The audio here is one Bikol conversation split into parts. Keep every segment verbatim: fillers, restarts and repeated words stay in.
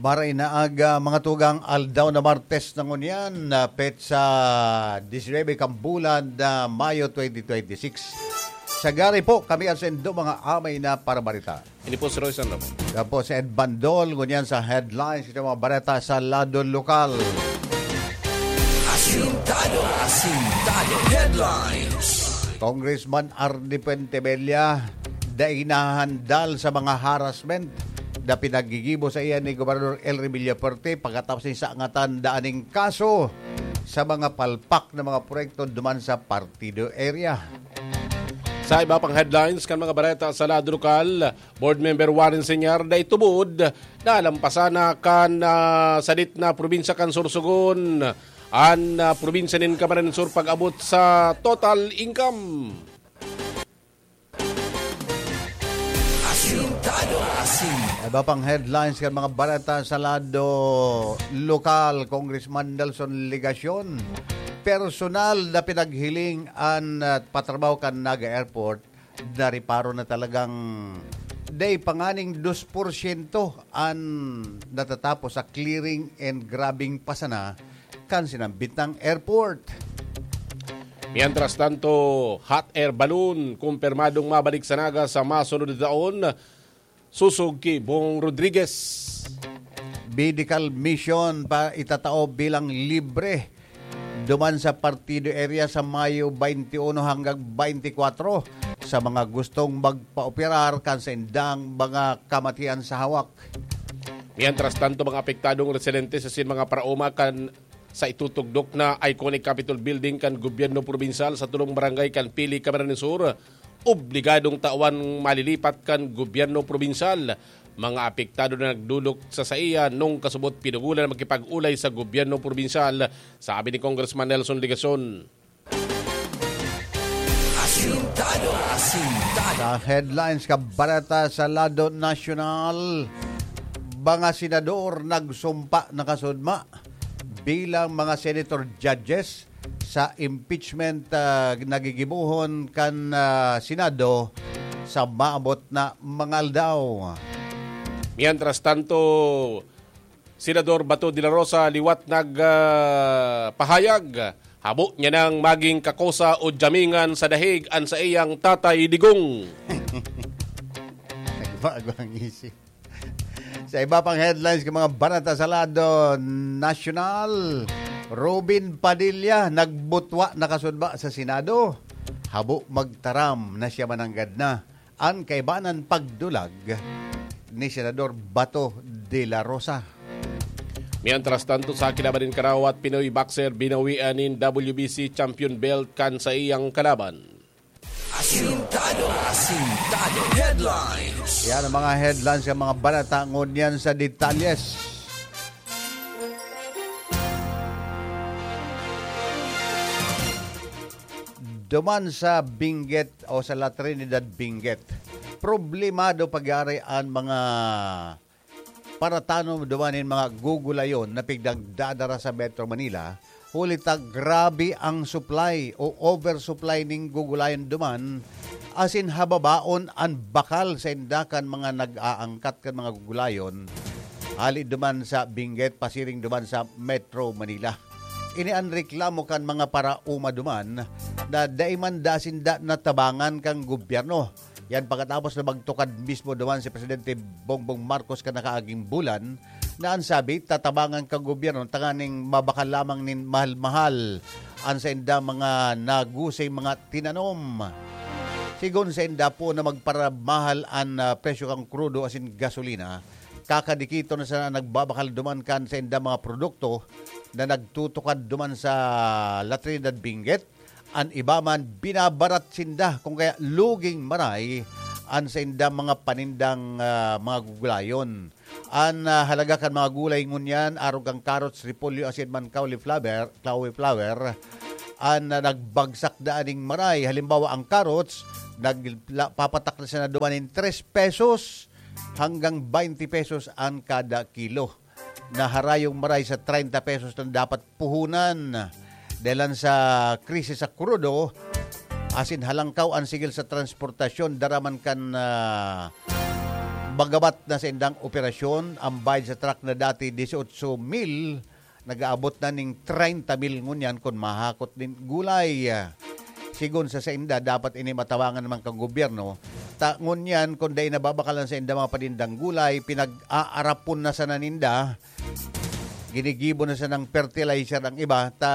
Maray na aga, mga tugang, aldaw na Martes na ngunyan, na petsa disinebe kan bulan na Mayo twenty twenty-six. Sagari po, kami ang sendo, mga amay na parabarita. Ini po si Roy San Ramon. Yan po si Ed Bandol, ngunyan sa headlines, ito mga bareta sa lado lokal. Asintado, asintado. Headlines. Congressman Arnie Fuentebella, dai nahandal sa mga harassment na pinaggigibo sa iya ni Gobernador Elry Villafuerte pagkatapos ni sangatan daning kaso sa mga palpak na mga proyekto duman sa partido area. Sa iba pang headlines kan mga bareta sa lado lokal, Board Member Warren Señar dai tubod na lampasan na kan, ah, sadit na probinsya kan Sorsogon, an, ah, probinsya nin Camarines Sur pag-abot sa total income. Asintado, asintado. Iba pang headlines kan mga bareta sa lado lokal, Congressman Nelson Legacion, personal na pinaghiling an, ah, patrabaho kan Naga Airport, nareparo na talagang dai pa nganing dos porsyento an natatapos sa clearing and grubbing pa sana kan sinambit na airport. Mientras tanto, hot air balloon, kumpirmadong mabalik sa Naga sa masunod na taon, susog ki Bong Rodriguez. Medical mission pa itatao bilang libre duman sa partido area sa Mayo twenty-one hanggang twenty-four sa mga gustong magpaoperar kan saindang mga kamatian sa hawak. Mientras tanto, mga apektadong residente sa sin mga paraoma kan sa itutugdok na iconic Capitol Building kan gobyerno probinsyal sa tulong barangay kan Pili, Camarines Sur, obligadong tawan malilipat kan gobyerno probinsyal. Mga apektado na nagdulok sa saiya nung kasubot pinugulan na makipag-ulay sa gobyerno probinsyal, sabi ni Congressman Nelson Legacion. Asintado, asintado. Sa headlines ka bareta sa lado nasyonal, mga senador nagsumpa na kasudma bilang mga senator judges sa impeachment, ah, na gigibohon kan, ah, Senado sa maabot na mga aldaw. Mientras tanto, Senador Bato de la Rosa liwat nag, ah, pahayag, habo niya nang maging kakosa o jamingan sa dahig an saiyang Tatay Digong. Nagbago ang isip. Sa iba pang headlines kan mga bareta sa lado nasyonal, Robin Padilla nagbutwa na kasudma sa Senado. Habo magtaram na siya mananggad na, an kaibanan pagdulag ni Senador Bato de la Rosa. Mientras tanto, sa kilaban nin karawat, Pinoy boxer binawian nin W B C champion belt kan saiyang kalaban. Asintado, asintado. Headlines. Yan ang mga headlines ng mga balita. Ngunyan sa detalyes. Duman sa Benguet o sa La Trinidad Benguet, problemado pagyari an mga paratanom duman nin mga gugulayon na pigdagdadara sa Metro Manila, huli ta grabe ang supply o oversupply nin gugulayon duman, asin hababaon an bakal sa inda kan mga nag-aangkat kan mga gugulayon, hali duman sa Benguet, pasiring duman sa Metro Manila. Ini an reklamo kan mga paraoma duman na dai man da sinda natabangan kan gobyerno. Yan pagkatapos na magtukad mismo duman si Presidente Bongbong Marcos kan nakaaging bulan na an sabi, tatabangan kan gobyerno tanganing mabakal lamang nin mahal-mahal an saindang mga nagusay mga tinanom. Sigon sainda po na magparamahal an, ah, presyo kan krudo asin gasolina, kakadikiton na sana nagbabakal duman kan saindang mga produkto na nagtutukad duman sa La Trinidad Benguet. An iba man, binabarat sinda, kung kaya luging maray an saindang mga panindang, ah, mga gugulayon. An, ah, halaga kan mga gulay ngunyan, arog kan carrots, repolyo, asin man cauliflower, cauliflower, an, ah, nagbagsak na aning maray. Halimbawa, ang carrots, nagla-, papatak na siya na duman nin tres pesos hanggang twenty pesos an kada kilo. Na harayong maray sa treinta pesos na dapat puhunan. Dahilan sa krisis sa krudo, asin halangkaw an sigil sa transportasyon, dara man kan, ah, Bagabat na sa indang operasyon, ang bayad sa truck na dati dieciocho mil, nag-aabot na ning treinta mil ngunyan kun mahakot nin gulay. Sigon sa sainda, dapat ini matabangan naman kan gobyerno. Ta ngunyan, kun dai nababakalan sa inda mga panindang gulay, pinag-aarapon na sana ninda, ginigibo na sanang fertilizer ang iba, ta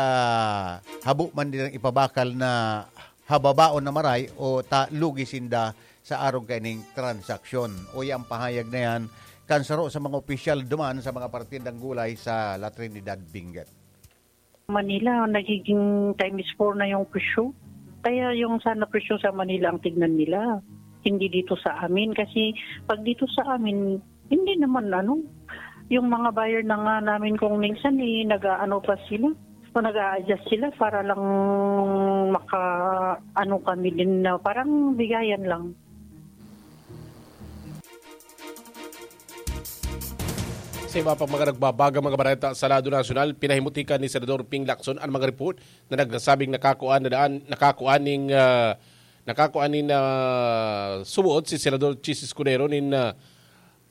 habo man nilang ipabakal na hababaon na maray o ta lugi sinda sa arog kaining transaksyon. Uya ang pahayag na yan kan saro sa mga opisyal duman sa mga partidang gulay sa La Trinidad, Benguet. Manila, nagiging times four na yung presyo. Kaya yung sana presyo sa Manila ang tignan nila. Hindi dito sa amin. Kasi pag dito sa amin, hindi naman ano, yung mga buyer na nga namin kung minsan eh, nag-aano pa sila. O nag-a-adjust sila para lang maka, ano kami din na parang bigayan lang. Sa iba pang mga nagbabagang mga bareta sa lado nasyonal, pinahimutika ni Senador Ping Lacson ang mga report na nagsasabing nakakuan na daan, nakakuan ning, ah, nakakuan nin, ah, subuot si Senador Chiz Escudero nin, ah,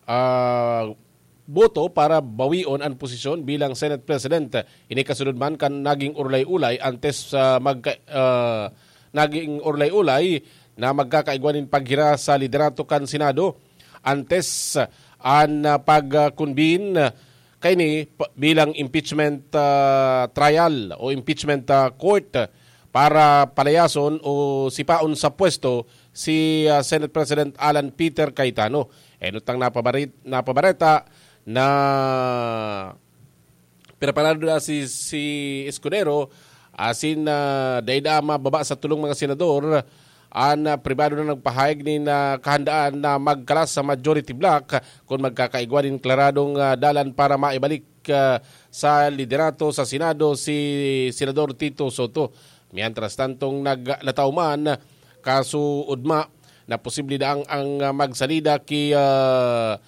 ah, boto para bawion ang posisyon bilang Senate President. Ini kasunod man kan naging urlay-ulay antes sa magka, ah, naging urlay-ulay na magkakaigwa nin paghira sa liderato kan Senado antes an, ah, pag-convene kaini pa- bilang impeachment, ah, trial o impeachment, ah, court para palayason o sipaon sa pwesto si, ah, Senate President Alan Peter Cayetano. Enot ang napabarit, napabareta na preparado na si, si Escudero asin, ah, dai na mababa sa tulong mga senador an, ah, pribado na nagpahayag nin, ah, kahandaan na magkalas sa majority bloc kun magkakaigwa nin klaradong, ah, dalan para maibalik, ah, sa liderato sa Senado si Senador Tito Soto. Mientras tantong nag-, nataw man, kaso ugma na posible daang ang, ah, magsalida ki, ah,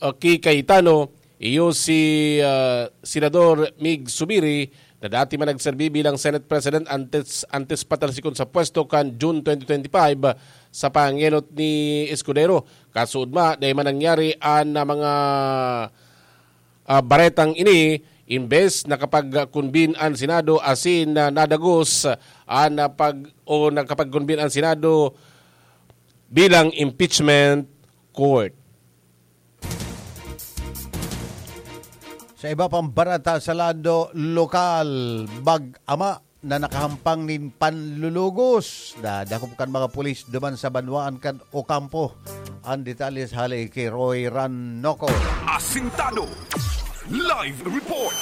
ah, ki Cayetano, iyo si, ah, Senador Mig Zubiri na dati man nagserbi bilang Senate President antes, antes patalsikon sa pwesto kan June twenty twenty-five sa pangenot ni Escudero. Kaso ugma, dai man nangyari an, ah, mga, ah, baretang ini, imbes nakapag-convene an Senado asin, ah, nadagos an, ah, pag-, o nakapag-convene an Senado bilang impeachment court. Sa iba pang bareta sa lado lokal, mag-ama na nakahampang nin panlulugos. Nadakop kan mga pulis duman sa banwaan kan Ocampo. Ang detalles hali ki Roy Ranoco. Asintado. Live report.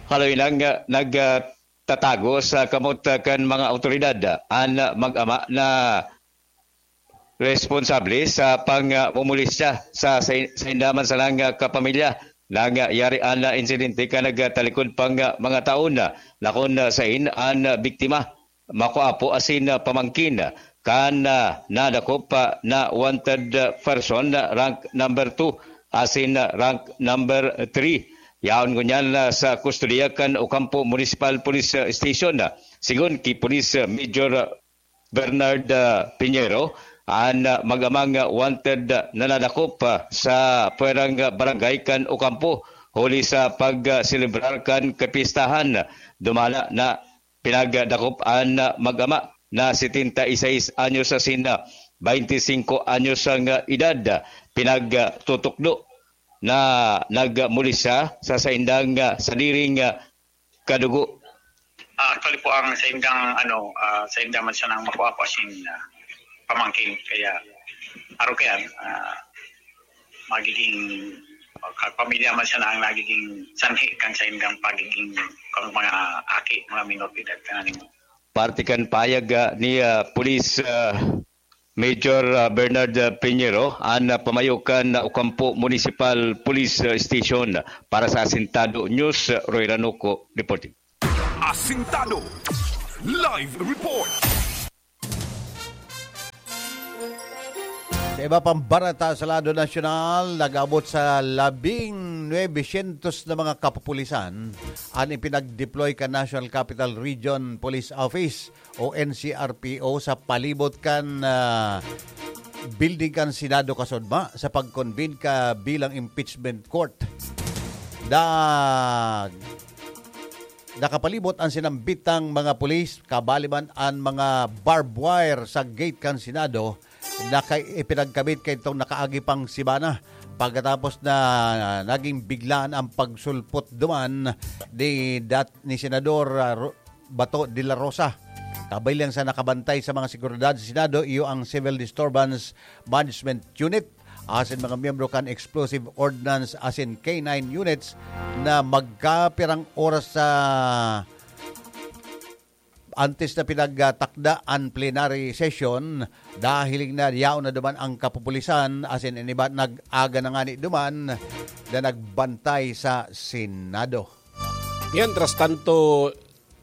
Haloy lang, ah, nag, ah, tatago sa kamot, ah, kan mga awtoridad, ah, an, ah, mag-ama na responsable sa pangmumulestya sa, sa, sa inda man sanang, ah, kapamilya. Nangyari an, ah, insidente kan nagtalikod pang, ah, mga taon, ah, lakon, ah, sain an, ah, biktima, makuapo asin, ah, pamangkin, ah, kan, ah, nadakop, ah, na wanted, ah, person, ah, rank number two asin, ah, rank number three. Yaon ngunyan, ah, sa kustodiya kan Ocampo Municipal Police, ah, Station, ah, sigon ki Police, ah, Major, ah, Bernard, ah, Piñero, an, ah, mag-amang, ah, wanted, ah, na nadakop, ah, sa pwerang, ah, barangay kan Ocampo, huli sa pag, ah, selebrar kan kapistahan. Dumala na pinagdakop an, ah, mag-ama na setenta y seis anyos asin, ah, baynte singko anyos ang, ah, edad. Pinagtutukdo na nagmuli siya sa saindang, ah, sadiring, ah, kadugo. Ah, actually po, ang saindang, ano, ah, sainda man siya nang makuha po asin, ah, pamangkin. Kaya, araw kaya, ah, magiging, ah, pamilya man siya na ang nagiging sanhi kan saindang pagiging kan mga aki, mga minor de edad, kan animo. Parte kan payag, ah, ni, ah, Police, ah, Major, ah, Bernard, ah, Piñero, an, ah, pamayo kan, ah, Ocampo Municipal Police, ah, Station. Para sa Asintado News, ah, Roy Ranuco reporting. Asintado Live Report. Sa iba pang bareta sa lado nasyonal, nag-abot sa labing nuebe syentos na mga kapupulisan an ipinag-deploy kan National Capital Region Police Office o N C R P O sa palibot kan, ah, building kan Senado kasudma sa pag-convene ka bilang impeachment court. Dag Nakapalibot an sinambitang mga pulis, kabali man an mga barbed wire sa gate kan Senado na kay ipinagkabit kaitong nakaagi pang semana, pagkatapos na naging biglaan ang pagsulpot duman ni dat-, ni Senador, ah, Ro-, Bato de la Rosa. Kabilang sa nakabantay sa mga seguridad sa Senado, iyo ang Civil Disturbance Management Unit, asin mga miyembro kan Explosive Ordnance asin K nine units na magkapirang oras sa antes na pinagtakda an plenary session, dahil na yaon na duman ang kapupulisan asin an iba nag-aga na ngani duman na nagbantay sa Senado. Mientras tanto,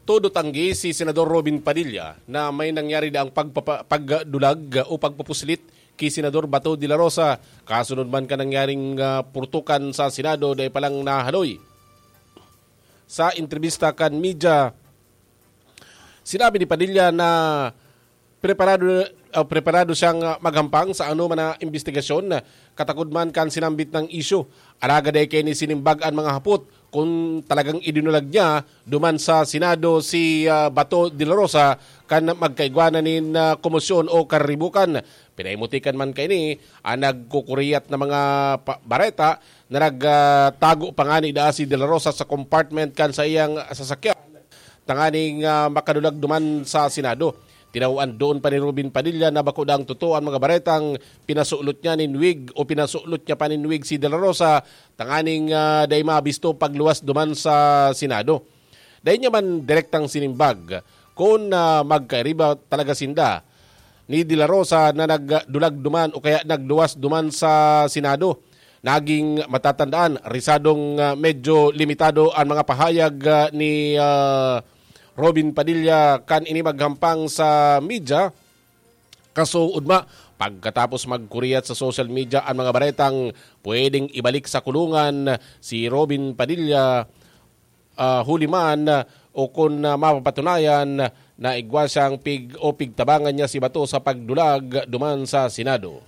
todo tanggi si Senador Robin Padilla na may nangyari daang pagpapa-, pagdulag o pagpupuslit ki Senador Bato de la Rosa, kasunod man kan nangyaring, ah, purtukan sa Senado, dai pa lang nahaloy. Sa entrebista kan media, sinabi ni Padilla na preparado, ah, preparado siyang, ah, maghampang sa anoman na imbestigasyon, katakod man kan sinambit na isyu. Alagad dai kaini sinimbag an mga hapot kun talagang idinulag niya duman sa Senado si, ah, Bato de la Rosa kan magkaigwa na nin, ah, komosyon o kariribukan. Pinaimutikan man kaini an nagkukuriyat na mga pa-, bareta na nag, ah, tago pa ngani daa si de la Rosa sa compartment kan saiyang sasakyan tanganing, ah, makadulag duman sa Senado. Tinawan doon pa ni Robin Padilla na bako daang totoo an mga baretang pinasulot niya nin wig o pinasulot niya pa nin wig si de la Rosa tanganing, ah, dai mabisto pagluwas duman sa Senado. Dai niya man direktang sinimbag kun, ah, magkairiba talaga sinda ni de la Rosa na nagdulag duman o kaya nagluwas duman sa Senado. Naging matatandaan, risadong, ah, medyo limitado an mga pahayag, ah, ni, ah, Robin Padilla kan ini maghampang sa media. Kaso, ugma, pagkatapos magkuriyat sa social media an mga baretang pwedeng ibalik sa kulungan si Robin Padilla, ah, huli man, ah, o kun, ah, mapapatunayan na igwa siyang pig-, o pigtabangan niya si Bato sa pagdulag duman sa Senado.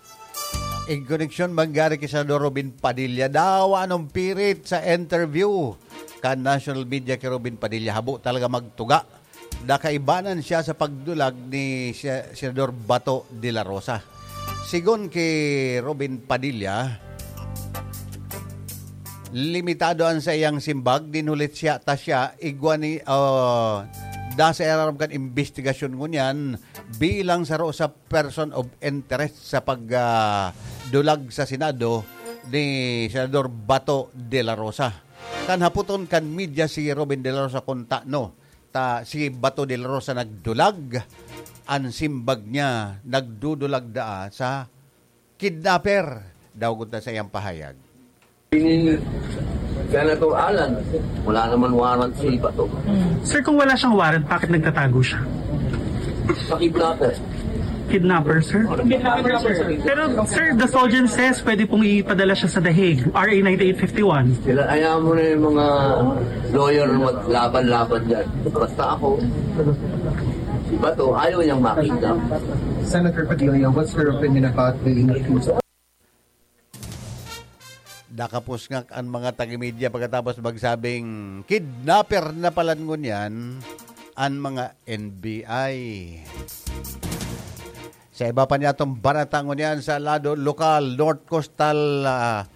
In koneksyon mangyari ki Senador Robin Padilla, dawa anong pirit sa interview kan national media ki Robin Padilla, habo talaga magtuga na kaibanan siya sa pagdulag ni Se-, Senador Bato de la Rosa. Sigon ki Robin Padilla, limitado an saiyang simbag, dinhulit siya, ta siya, igwa ni, ah, da sa irarom kan imbestigasyon ngunyan bilang saro sa person of interest sa pag, ah, dulag sa Senado ni Senador Bato de la Rosa. Kan hapoton kan media si Robin de la Rosa kun tano, ta si Bato de la Rosa nagdulag, an simbag niya nagdudulag daa sa kidnapper, daw gud ta sa iyang pahayag. Ini, Senator Alan, wala naman warrant si Bato. Sir, kung wala siyang warrant, bakit nagtatago siya? Sa kidnapper. Kidnapper, sir? Kidnapper, sir. Pero, sir, the Solgen says pwede pong ipadala siya sa The Hague, R A ninety-eight fifty-one. Sila, ayaw mo na yung mga lawyer na maglaban-laban dyan. Basta ako, si Bato, ayaw niyang makita. Senator Padilla, what's your opinion about the increase? Nakapusngak an mga taga-media pagkatapos magsabing kidnapper na pala ngunyan an mga N B I. Sa iba pa niyatong bareta ngunyan sa lado lokal, North Coastal, ah,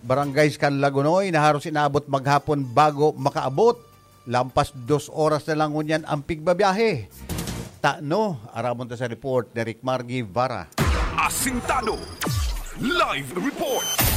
barangays kan Lagonoy na haros inaabot maghapon bago makaabot. Lampas dos oras na lang ngunyan ang pigbabiyahe. Tano, aramon ta sa report ni Rick Mar Guevara. Asintado. Live report.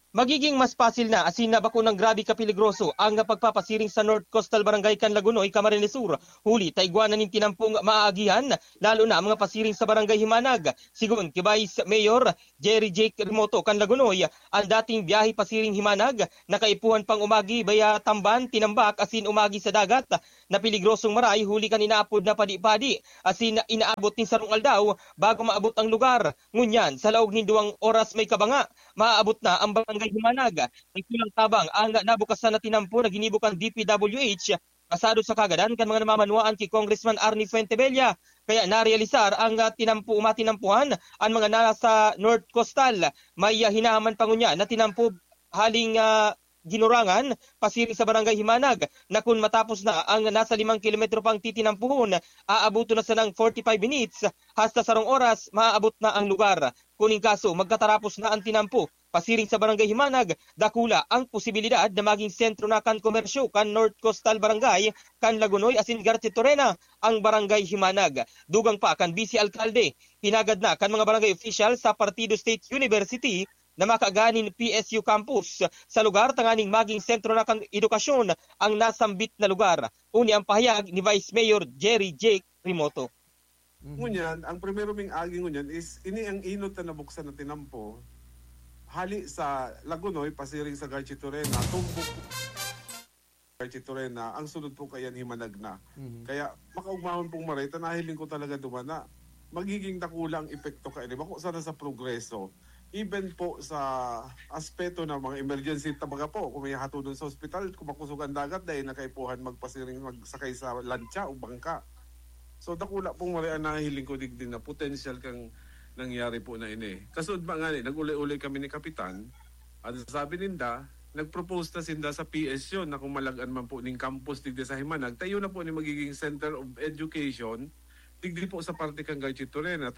Magiging mas pasil na asin na bako nang grabe kapeligroso ang pagpapasiring sa North Coastal Barangay kan Lagonoy, Camarines Sur, huli ta igwa na nin tinampong maaagihan, lalo na ang mga pasiring sa Barangay Himanag. Sigon ki Vice Mayor Jerry Jake Remoto kan Lagonoy, ang dating biyahe pasiring Himanag, nakaipuhan pang umagi baya Tamban, Tinambak, asin umagi sa dagat na peligrosong maray huli kan inaapod na padi-padi, asin inaabot nin sarong aldaw bago maabot ang lugar. Ngunyan, sa laog nin duwang oras may kabanga, maaabot na ang Barangay Himanag. Nagkulang tabang ang nabukasan na tinampo na ginibo kan D P W H, pasado sa kagadan kan mga namamanwaan ki Congressman Arnie Fuentebella. Kaya narealisar ang, ah, tinampo, matinampuhan ang mga nasa North Coastal. May, ah, hinahaman pa ngunyan na tinampo haling, ah, Ginurangan, pasiring sa Barangay Himanag, na kun matapos na ang nasa limang kilometro pang titinampuhon, aaboton na sanang forty-five minutes, hasta sarong oras, maaabot na ang lugar. Kun in kaso, magkatarapos na ang tinampo, pasiring sa Barangay Himanag, dakula ang posibilidad na maging sentro na kan komersyo kan North Coastal Barangay kan Lagonoy asin Garchitorena ang Barangay Himanag. Dugang pa kan Vice Alkalde, hinagad na kan mga barangay official sa Partido State University na makaganin P S U campus sa lugar tanganing maging sentro na kan edukasyon ang nasambit na lugar. Uni ang pahayag ni Vice Mayor Jerry Jake Rimoto. Ngunyan, ang primero ming agi ngunyan is ini ang inot na nabuksan na tinampo hali sa Lagunoy pasiring sa Garchitorena, tumbok Garchitorena, ang sunod po kayan Himanag na. Mhm. Kaya makaugmahon pong maray, ta nahiling ko talaga duman na magiging dakula ang epekto kaini. Bako sana sa progreso. Even po sa aspeto ng mga emergency, tabaga po, kung may hatodon sa ospital, kung makusog ang dagat, dahil nakaipuhan magpasiring, magsakay sa lantsa o bangka. So, dakula pong maray ang nahiling ko digdi na potential kang nangyari po na ini. Kasud ba nga ni, nag-ulay-ulay kami ni Kapitan, at sabi ninda, nag-propose na sinda sa P S U na kung malagan man po ning campus digdi sa Himanag, tayo na po ni magiging center of education digdi po sa parte kang Garchitorena.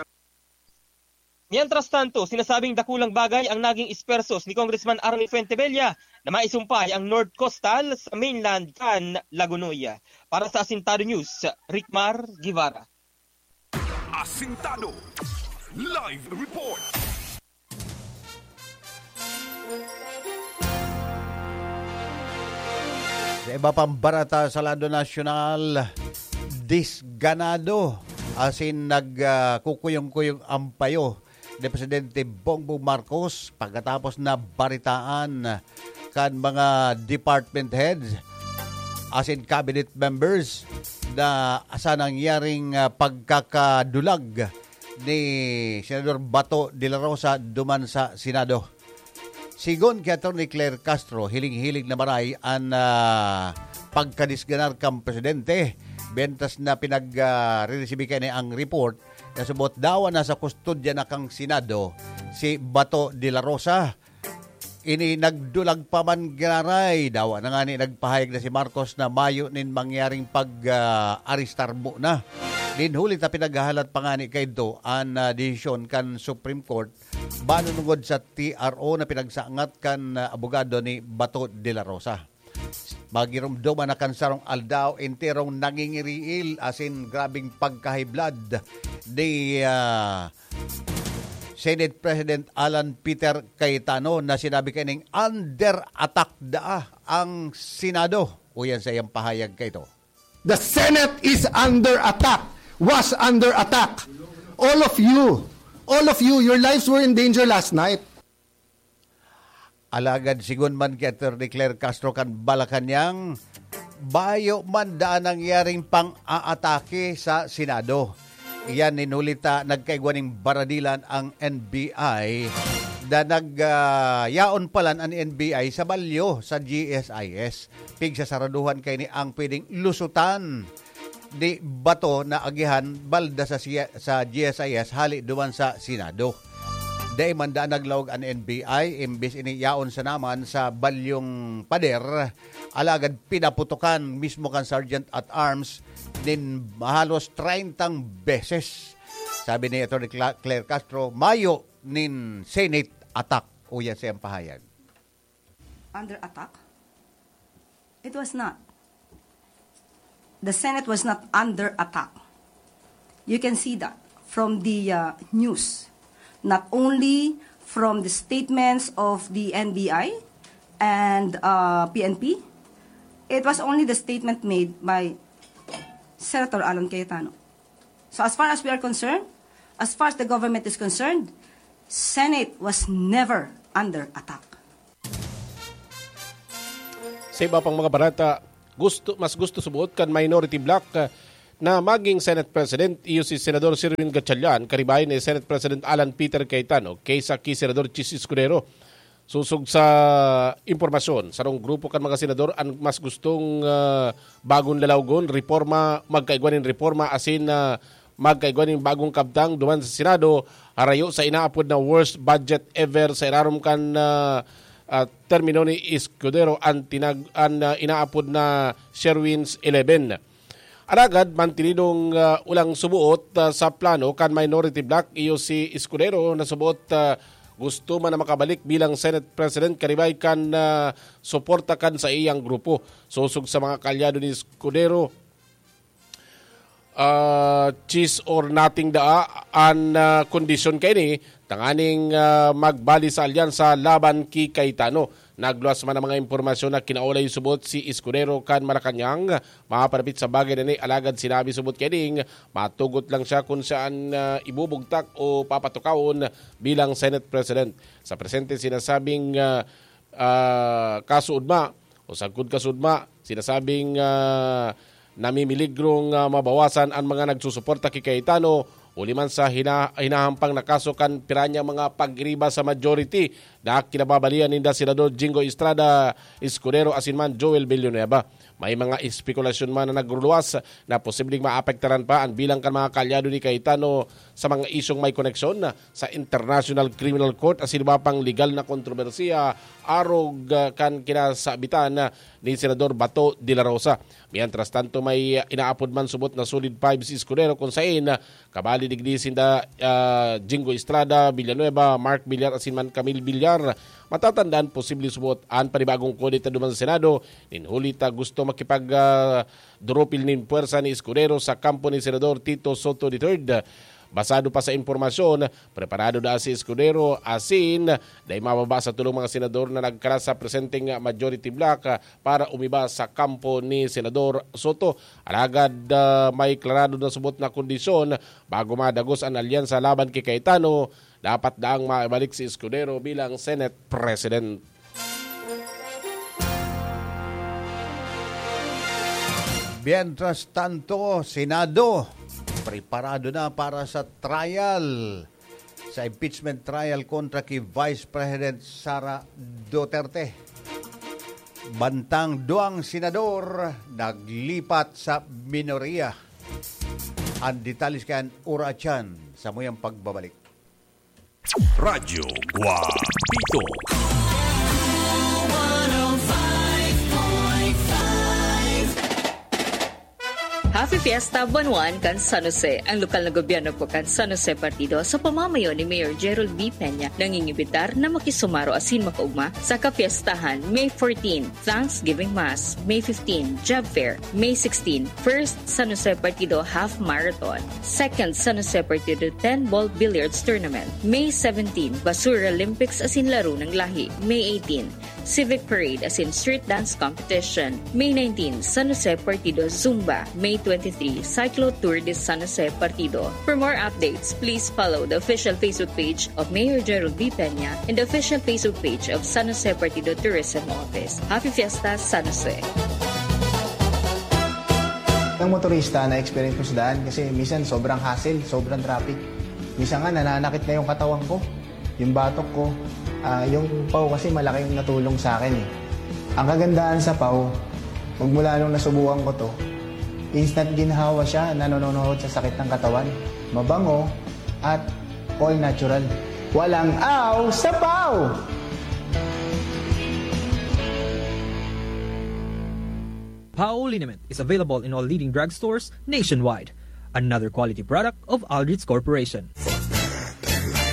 Mientras tanto, sinasabing dakulang bagay ang naging ispersos ni Congressman Arnel Fuentebella na maisumpay ang North Coastal sa mainland kan Lagonoy. Para sa Asintado News, Rickmar Guevara. Asintado Live Report. Sa iba pang barata sa lado nasyonal, disganado asin nagkukuyong-kuyong ang payo ni Presidente Bongbong Marcos pagkatapos na baritaan kan mga department heads asin cabinet members na sa nangyaring ah, pagkakadulag ni Senador Bato de la Rosa duman sa Senado. Sigon ki Attorney Claire Castro, hiling-hiling na maray an ah, pagkadisganar kan presidente, mientras na pinag-reresibi kaini ang report na subot dawa na sa kustodya na kan Senado si Bato de la Rosa. Ini nagdulag pa man giraray, dawa na ngani nagpahayag na si Marcos na mayo nin mangyaring pag-arestar mo na. Nin huli ta pinaghahalat pa ngani kaidto an ah, desisyon kan Supreme Court manunungod sa T R O na pinagsangat kan ah, abogado ni Bato de la Rosa. Magirumdoman na kan sarong aldaw enterong nangingiriil asin grabing pagkahiblad ni ah, Senate President Alan Peter Cayetano na sinabi kaning under attack daa ang Senado. Uyan sa iyang pahayag kaito. The Senate is under attack, was under attack. All of you, all of you, your lives were in danger last night. Alagad sigon man ki Attorney Claire Castro kan Malacañang, bayo man daan nangyaring pang-aatake sa Senado. Iyan nin huli ta nagkaigwa ning baradilan ang N B I na nag ah, yaon palan an N B I sa balyo sa G S I S. Pigsasaraduhan kaini ang pwedeng lusutan di bato na agihan balda sa, siya- sa G S I S hali duman sa Senado. Dai man daan naglaog an N B I, imbis ini yaon sa naman sa balyong pader, alagad pinaputokan mismo kan Sergeant at Arms nin halos treyntang beses. Sabi ni Attorney Cla- Claire Castro, mayo nin Senate attack. Uyan sa iyang pahayag. Under attack? It was not. The Senate was not under attack. You can see that from the uh, news. Not only from the statements of the N B I and uh, P N P, it was only the statement made by Senator Alan Cayetano. So as far as we are concerned, as far as the government is concerned, Senate was never under attack. Sa iba pang mga barata, gusto, mas gusto subuot kan minority bloc ah, na maging Senate President iyo si Senador Sherwin Gatchalian karibahin ni Senate President Alan Peter Cayetano kaysa ki Senador Chiz Escudero. Sosog sa impormasyon, sarong grupo kan mga senador an mas gustong ah, bagon lalawgon, reforma, magkaigwa nin reforma asin ah, magkaigwa nin bagong kabtang duman sa Senado, harayo sa inaapod na worst budget ever sa irarom kan, ah, ah, termino ni Escudero an tinag-, an, ah, inaapod na Sherwin's eleven. Alagad, mantinidong, ah, ulang subuot, ah, sa plano kan minority bloc, iyo si Escudero na subuot, ah, gusto man na makabalik bilang Senate President karibay kan, ah, suporta kan sa iyang grupo. Sosog sa mga kaalyado ni Escudero, ah, cheese or nothing daa an, ah, kondisyon kaini tanganing, ah, magbali sa alyansa laban ki Cayetano. Nagluwas man ang mga impormasyon na kinaulay subot si Escudero kan Malacañang. Mapapanapit sa bagay na ni, alagad sinabi subot kaini, matugot lang siya kung siya an, ah, ibubugtak o papatukawon bilang Senate President. Sa presente, sinasabing, ah, ah, kaso ugma o sagkod kaso ugma, sinasabing, ah, namimiligrong, ah, mabawasan an mga nagsusuporta ki Cayetano, huli man sa hina-, hinahampang na kaso kan pira niyang mga pagriba sa majority na kinababalian ninda Senador Jingo Estrada Escudero asin man Joel Villanueva. May mga espekulasyon man na nagruluwas na posibleng maapektaran pa an bilang kan mga kaalyado ni Cayetano sa mga isyung may koneksyon sa International Criminal Court asin iba pang legal na kontrobersiya arog, ah, kan kinasabitan ni Senador Bato de la Rosa. Mientras tanto, may inaapod man subot na solid five si Escudero, kung sain, ah, kabali digdi sinda, ah, Jingo Estrada, Villanueva, Mark Villar asin man Camille Villar. Matatandaan, posible subot an panibagong kudeta duman sa Senado, nin huli ta gusto makipag, ah, durupil nin puwersa ni Escudero sa kampo ni Senador Tito Soto the third. Basado pa sa impormasyon, preparado na si Escudero asin dai mababa sa tolong mga senador na nagkalat sa presenteng majority bloc, ah, para umiba sa kampo ni Senador Soto. Alagad, ah, may klarado na subot na kondisyon bago madagos an alyansa laban ki Cayetano. Dapat daang maibalik si Escudero bilang Senate President. Mientras tanto, Senado, preparado na para sa trial, sa impeachment trial kontra ki Vice President Sara Duterte. Bantang duwang senador naglipat sa minorya. Ang detalye kan Ura Chan sa muyang pagbabalik. Radyo Guapito. Happy Fiesta, Buwan One kan San Jose. Ang lokal na gobyerno po kan San Jose Partido sa pamamayo ni Mayor Gerald B. Peña nangingibitar na makisumaro asin makaugma sa kapiestahan May fourteen, Thanksgiving Mass, May fifteen, Job Fair, May sixteen, First San Jose Partido Half Marathon, Second San Jose Partido ten Ball Billiards Tournament, May seventeen, Basura Olympics asin Laro ng Lahi, May eighteen, Civic Parade asin Street Dance Competition, May nineteen, San Jose Partido Zumba, May twenty-three, Cyclo Tour de San Jose Partido. For more updates, please follow the official Facebook page of Mayor Gerald B. Peña and the official Facebook page of San Jose Partido Tourism Office. Happy Fiesta, San Jose! Ng motorista na experience ko sa daan kasi minsan sobrang hassle, sobrang traffic. Minsan nga nananakit na yung katawan ko, yung batok ko. Ah, yung paw kasi malaki yung natulong sa akin eh. Ang kagandahan sa paw, magmula nung nasubukan ko to, instant ginhawa siya na nanonood sa sakit ng katawan. Mabango at all natural. Walang aw sa paw! Pao liniment is available in all leading drugstores nationwide. Another quality product of Aldrich Corporation.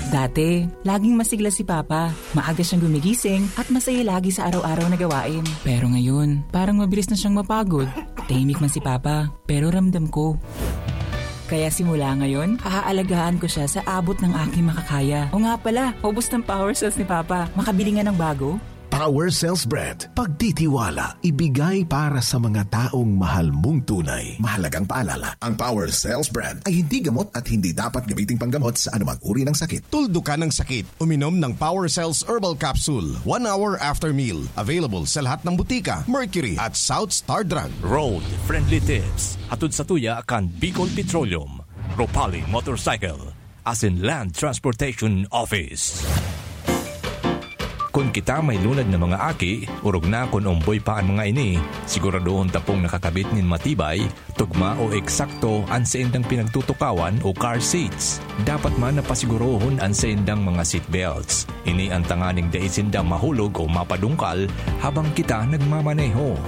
Dati, laging masigla si Papa. Maaga siyang gumigising at masaya lagi sa araw-araw na gawain. Pero ngayon, parang mabilis na siyang mapagod. Tahimik man si Papa, pero ramdam ko. Kaya simula ngayon, haaalagaan ko siya sa abot ng aking makakaya. O nga pala, ubos ng power cells ni Papa. Makabili nga ng bago? Power Cells Brand. Pagtitiwala, ibigay para sa mga taong mahal mong tunay. Mahalagang paalala, ang Power Cells Brand ay hindi gamot at hindi dapat gamiting panggamot sa anumang uri ng sakit. Tuldukan ang sakit. Uminom ng Power Cells Herbal Capsule one hour after meal. Available sa lahat ng butika, Mercury at South Star Drug. Road Friendly Tips. Hatod sa tuya kan Bicol Petroleum, Ropali Motorcycle, asin Land Transportation Office. Kun kita may lunad na mga aki, orog na kun omboy pa an mga ini, siguradohon ta pong nakakabit nin matibay, tugma o eksakto an saindang pinagtutukawan o car seats. Dapat man na pasigurohon an saindang mga seatbelts. Ini an tanganing dai sinda mahulog o mapadungkal habang kita nagmamaneho.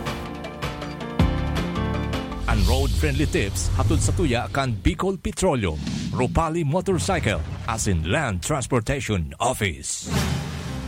An road-friendly tips hatod sa tuya kan Bicol Petroleum, Ropali Motorcycle, asin Land Transportation Office.